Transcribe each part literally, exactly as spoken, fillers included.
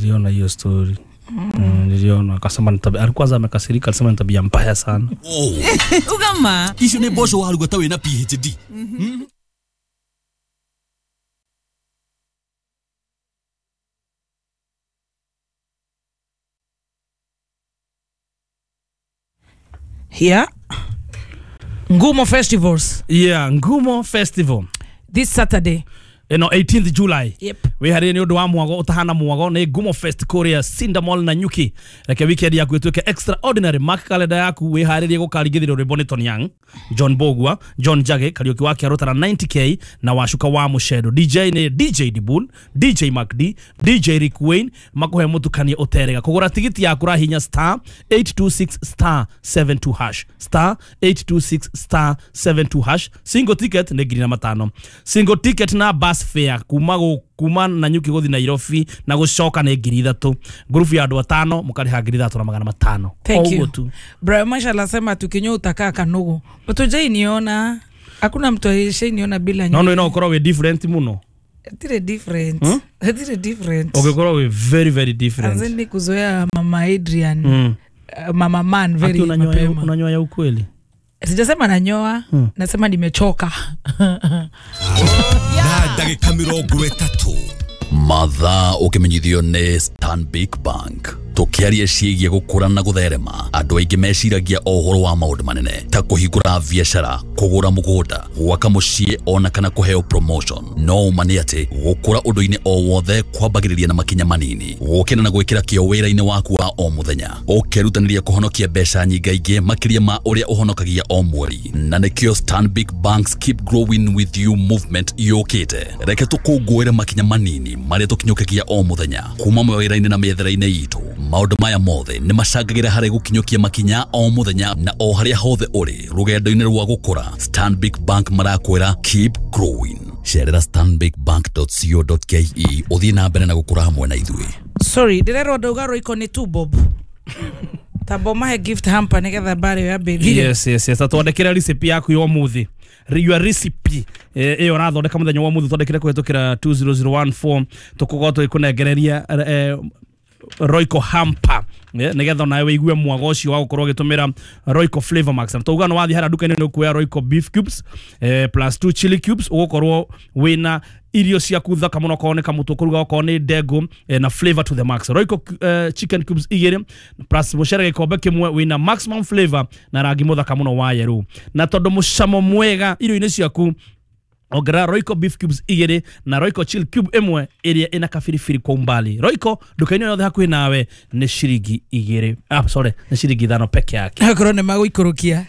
Niliona hiyo story. Mm. Niliona akasema ni tabia, alikuwa amekasirika, alisema ni tabia mbaya sana. Oh. Ugama. Icio nĩ mboco waruga ta wĩna P H D. Mm. Yeah. Ngumo Festivals. Yeah, Ngumo Festival. This Saturday. No, eighteenth July. Yep. We had ni undu wa mwago utahana mwago ni Ngumo Fest kuria Cinder Mall na Nyuki. Reke weekend yaku ituike extraordinary. Mark calendar yaku wiharirie gukarigithirio rwimbo ni Tony Young, John Bogwa, John Jage, Kariuki wa Kiarota na ninety K na Washuka wa Mushedo. D J ni D J Dibul, D J Mark D, D J Rick Wayne, makuhe mutukanie uterega. Kugura tigiti yaku rahinya star eight two six star seven two hash. Star eight two six star seven two hash. Single ticket ni ngiri na matano. Single ticket na bus fare kuma kuma na Nyuki guthi Nairobi na gucoka ni ngiri ithatu. Group ya andu atano mukariha ngiri ithatu na magana matano. Thank you. Bro Masha anasema tukinyo utakaa kanugu. Mtu niona hakuna mtu aliyeniona bila nywele. No no, ino ukorwo we different muno. Tire different. Hmm? Tire different. Ugikorwo we very very different. Anzeni kuzoea Mama Adrian. Mm. Uh, Mama Man very mapema. Unanyoa ya ukweli? Sijasema nanyoa, hmm. Nasema nimechoka. Na ndagika mirongo ĩtatũ mathaa ũkĩmenyithio nĩ Stanbic Bank. Tũkĩaria ciĩgiĩ gũkũra na gũtherema, andũ aingĩ meciragia o ũhoro wa maũndũ manene ta kũhingũra biacara, kũgũra mũgũnda, gwaka mũciĩ ona kana kũheo promotion. No ũma nĩ atĩ gũkũra ũndũ-inĩ o wothe kwambagĩrĩria na makinya manini, gũkĩra na gwĩkĩra kĩo wĩra-inĩ waku wa o mũthenya, ũkerutanĩria kũhonokia mbeca nyingaingĩ makĩria ma ũrĩa ũhonokagia o mweri. Na nĩkĩo Stanbic Bank's Keep Growing With You movement yũkĩte. Reke tũkũngũĩre makinya manini marĩa tũkinyũkagia o mũthenya kuma mawĩra-inĩ na mĩethere-inĩ itũ. Maũndũ maya mothe nĩ macangagĩra harĩ gũkinyũkia makinya o mũthenya na o harĩa hothe ũrĩ rũgendo-inĩ rwa gũkũra. Stanbic Bank marakwĩra keep growing. Cerera stanbic bank dot co dot ke ũthiĩ na mbere na gũkũra hamwe na ithuĩ. Sorry, ndĩrerwo ndauga Royco nĩ two bob. Tabo mahe gift hamper nĩgetha mbare ya baby. Yes, yes, yes. Twandĩkĩre recipe yaku ya ũmũthĩ. Your recipe ĩyo ũrathondeka mũthenya wa ũmũthĩ twandĩkĩre kũhĩtũkĩra two zero zero one four tũkũgwo tũgĩkũnengereria Royco hamper nigetha nawe wigue mwago ucio wa gukorwo gitumira Royco Flavor Max. Na tuuga no wathi hara nduka-inĩ nĩ ukuoya Royco beef cubes eh, plus two chili cubes ugukorwo wina irio ciaku thaka muno okorwo nĩ kamũtu ũkũruga okorwo nĩ ndengũ eh, na flavor to the max. Royco eh, chicken cubes igĩrĩ plus mũcere gĩkombe kĩmwe wina maximum flavor na rangi mũthaka mũno wa yellow. Na tondũ mũcamo mwega irio-inĩ ciaku ongerera Royco beef cubes igĩrĩ na Royco chill cube ĩmwe ĩrĩa ĩna kabiribiri kwa umbali. Royco nduka-inĩ yothe hakuhĩ nawe nĩ ciringi igĩrĩ. Ah, sorry, nĩ ciringi ithano peke yake. Akorwo nĩ magũikũrũkia.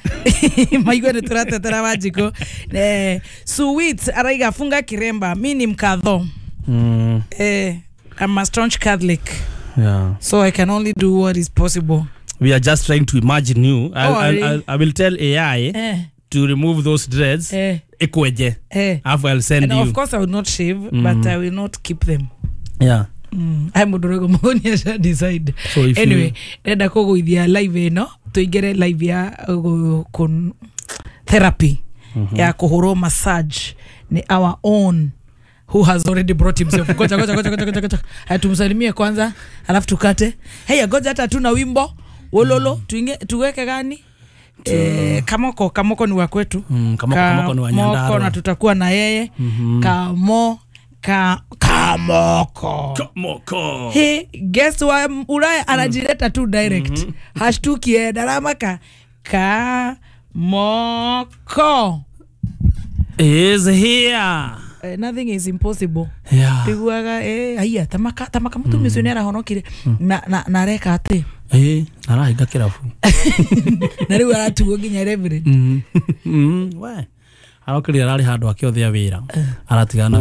Maigua nĩ tũratetera Wanjikũ. Eh, Sweet araiga funga kiremba, mi ni mkatho. Mm. Eh, I'm a staunch Catholic. Yeah. So I can only do what is possible. We are just trying to imagine you. I, Oh, I, really? I, I will tell A I eh. to remove those dreads. Eh. Ekweje. Eh. I'll send and you. Of course I will not shave, mm. but I will not keep them. Yeah. Mm. I'm Mudorogo Moni asha decide. So if anyway, you... ndenda kũgũithia live ĩno tũingĩre live ya uh, kun, therapy mm -hmm. ya kũhũrwo massage ni our own who has already brought himself. Goja goja goja goja goja. Haya tumsalimie kwanza alafu tukate. Hey, goja hata tuna wimbo wololo mm. tuinge tuweke gani? Eh, Kamoko Kamoko ni wa kwetu. Mm, Kamoko, Kamoko ni wa Nyandarua. Na tutakuwa na yeye. Mm -hmm. Kamo ka Kamoko. Kamoko. He guest wa Ulaya anajileta tu direct. Mm -hmm. Hashtuki eh daramaka. Kamoko is here. Uh, nothing is impossible. Yeah. Tiguaga eh haya tamaka tamaka mtu mm. misionera honokire mm. na na na reka ati. Eh arahinga kirabu. Na riu aratuo nginya reverend. Mm. Mm. We. Arokire arari handu akiothia wira. Aratigana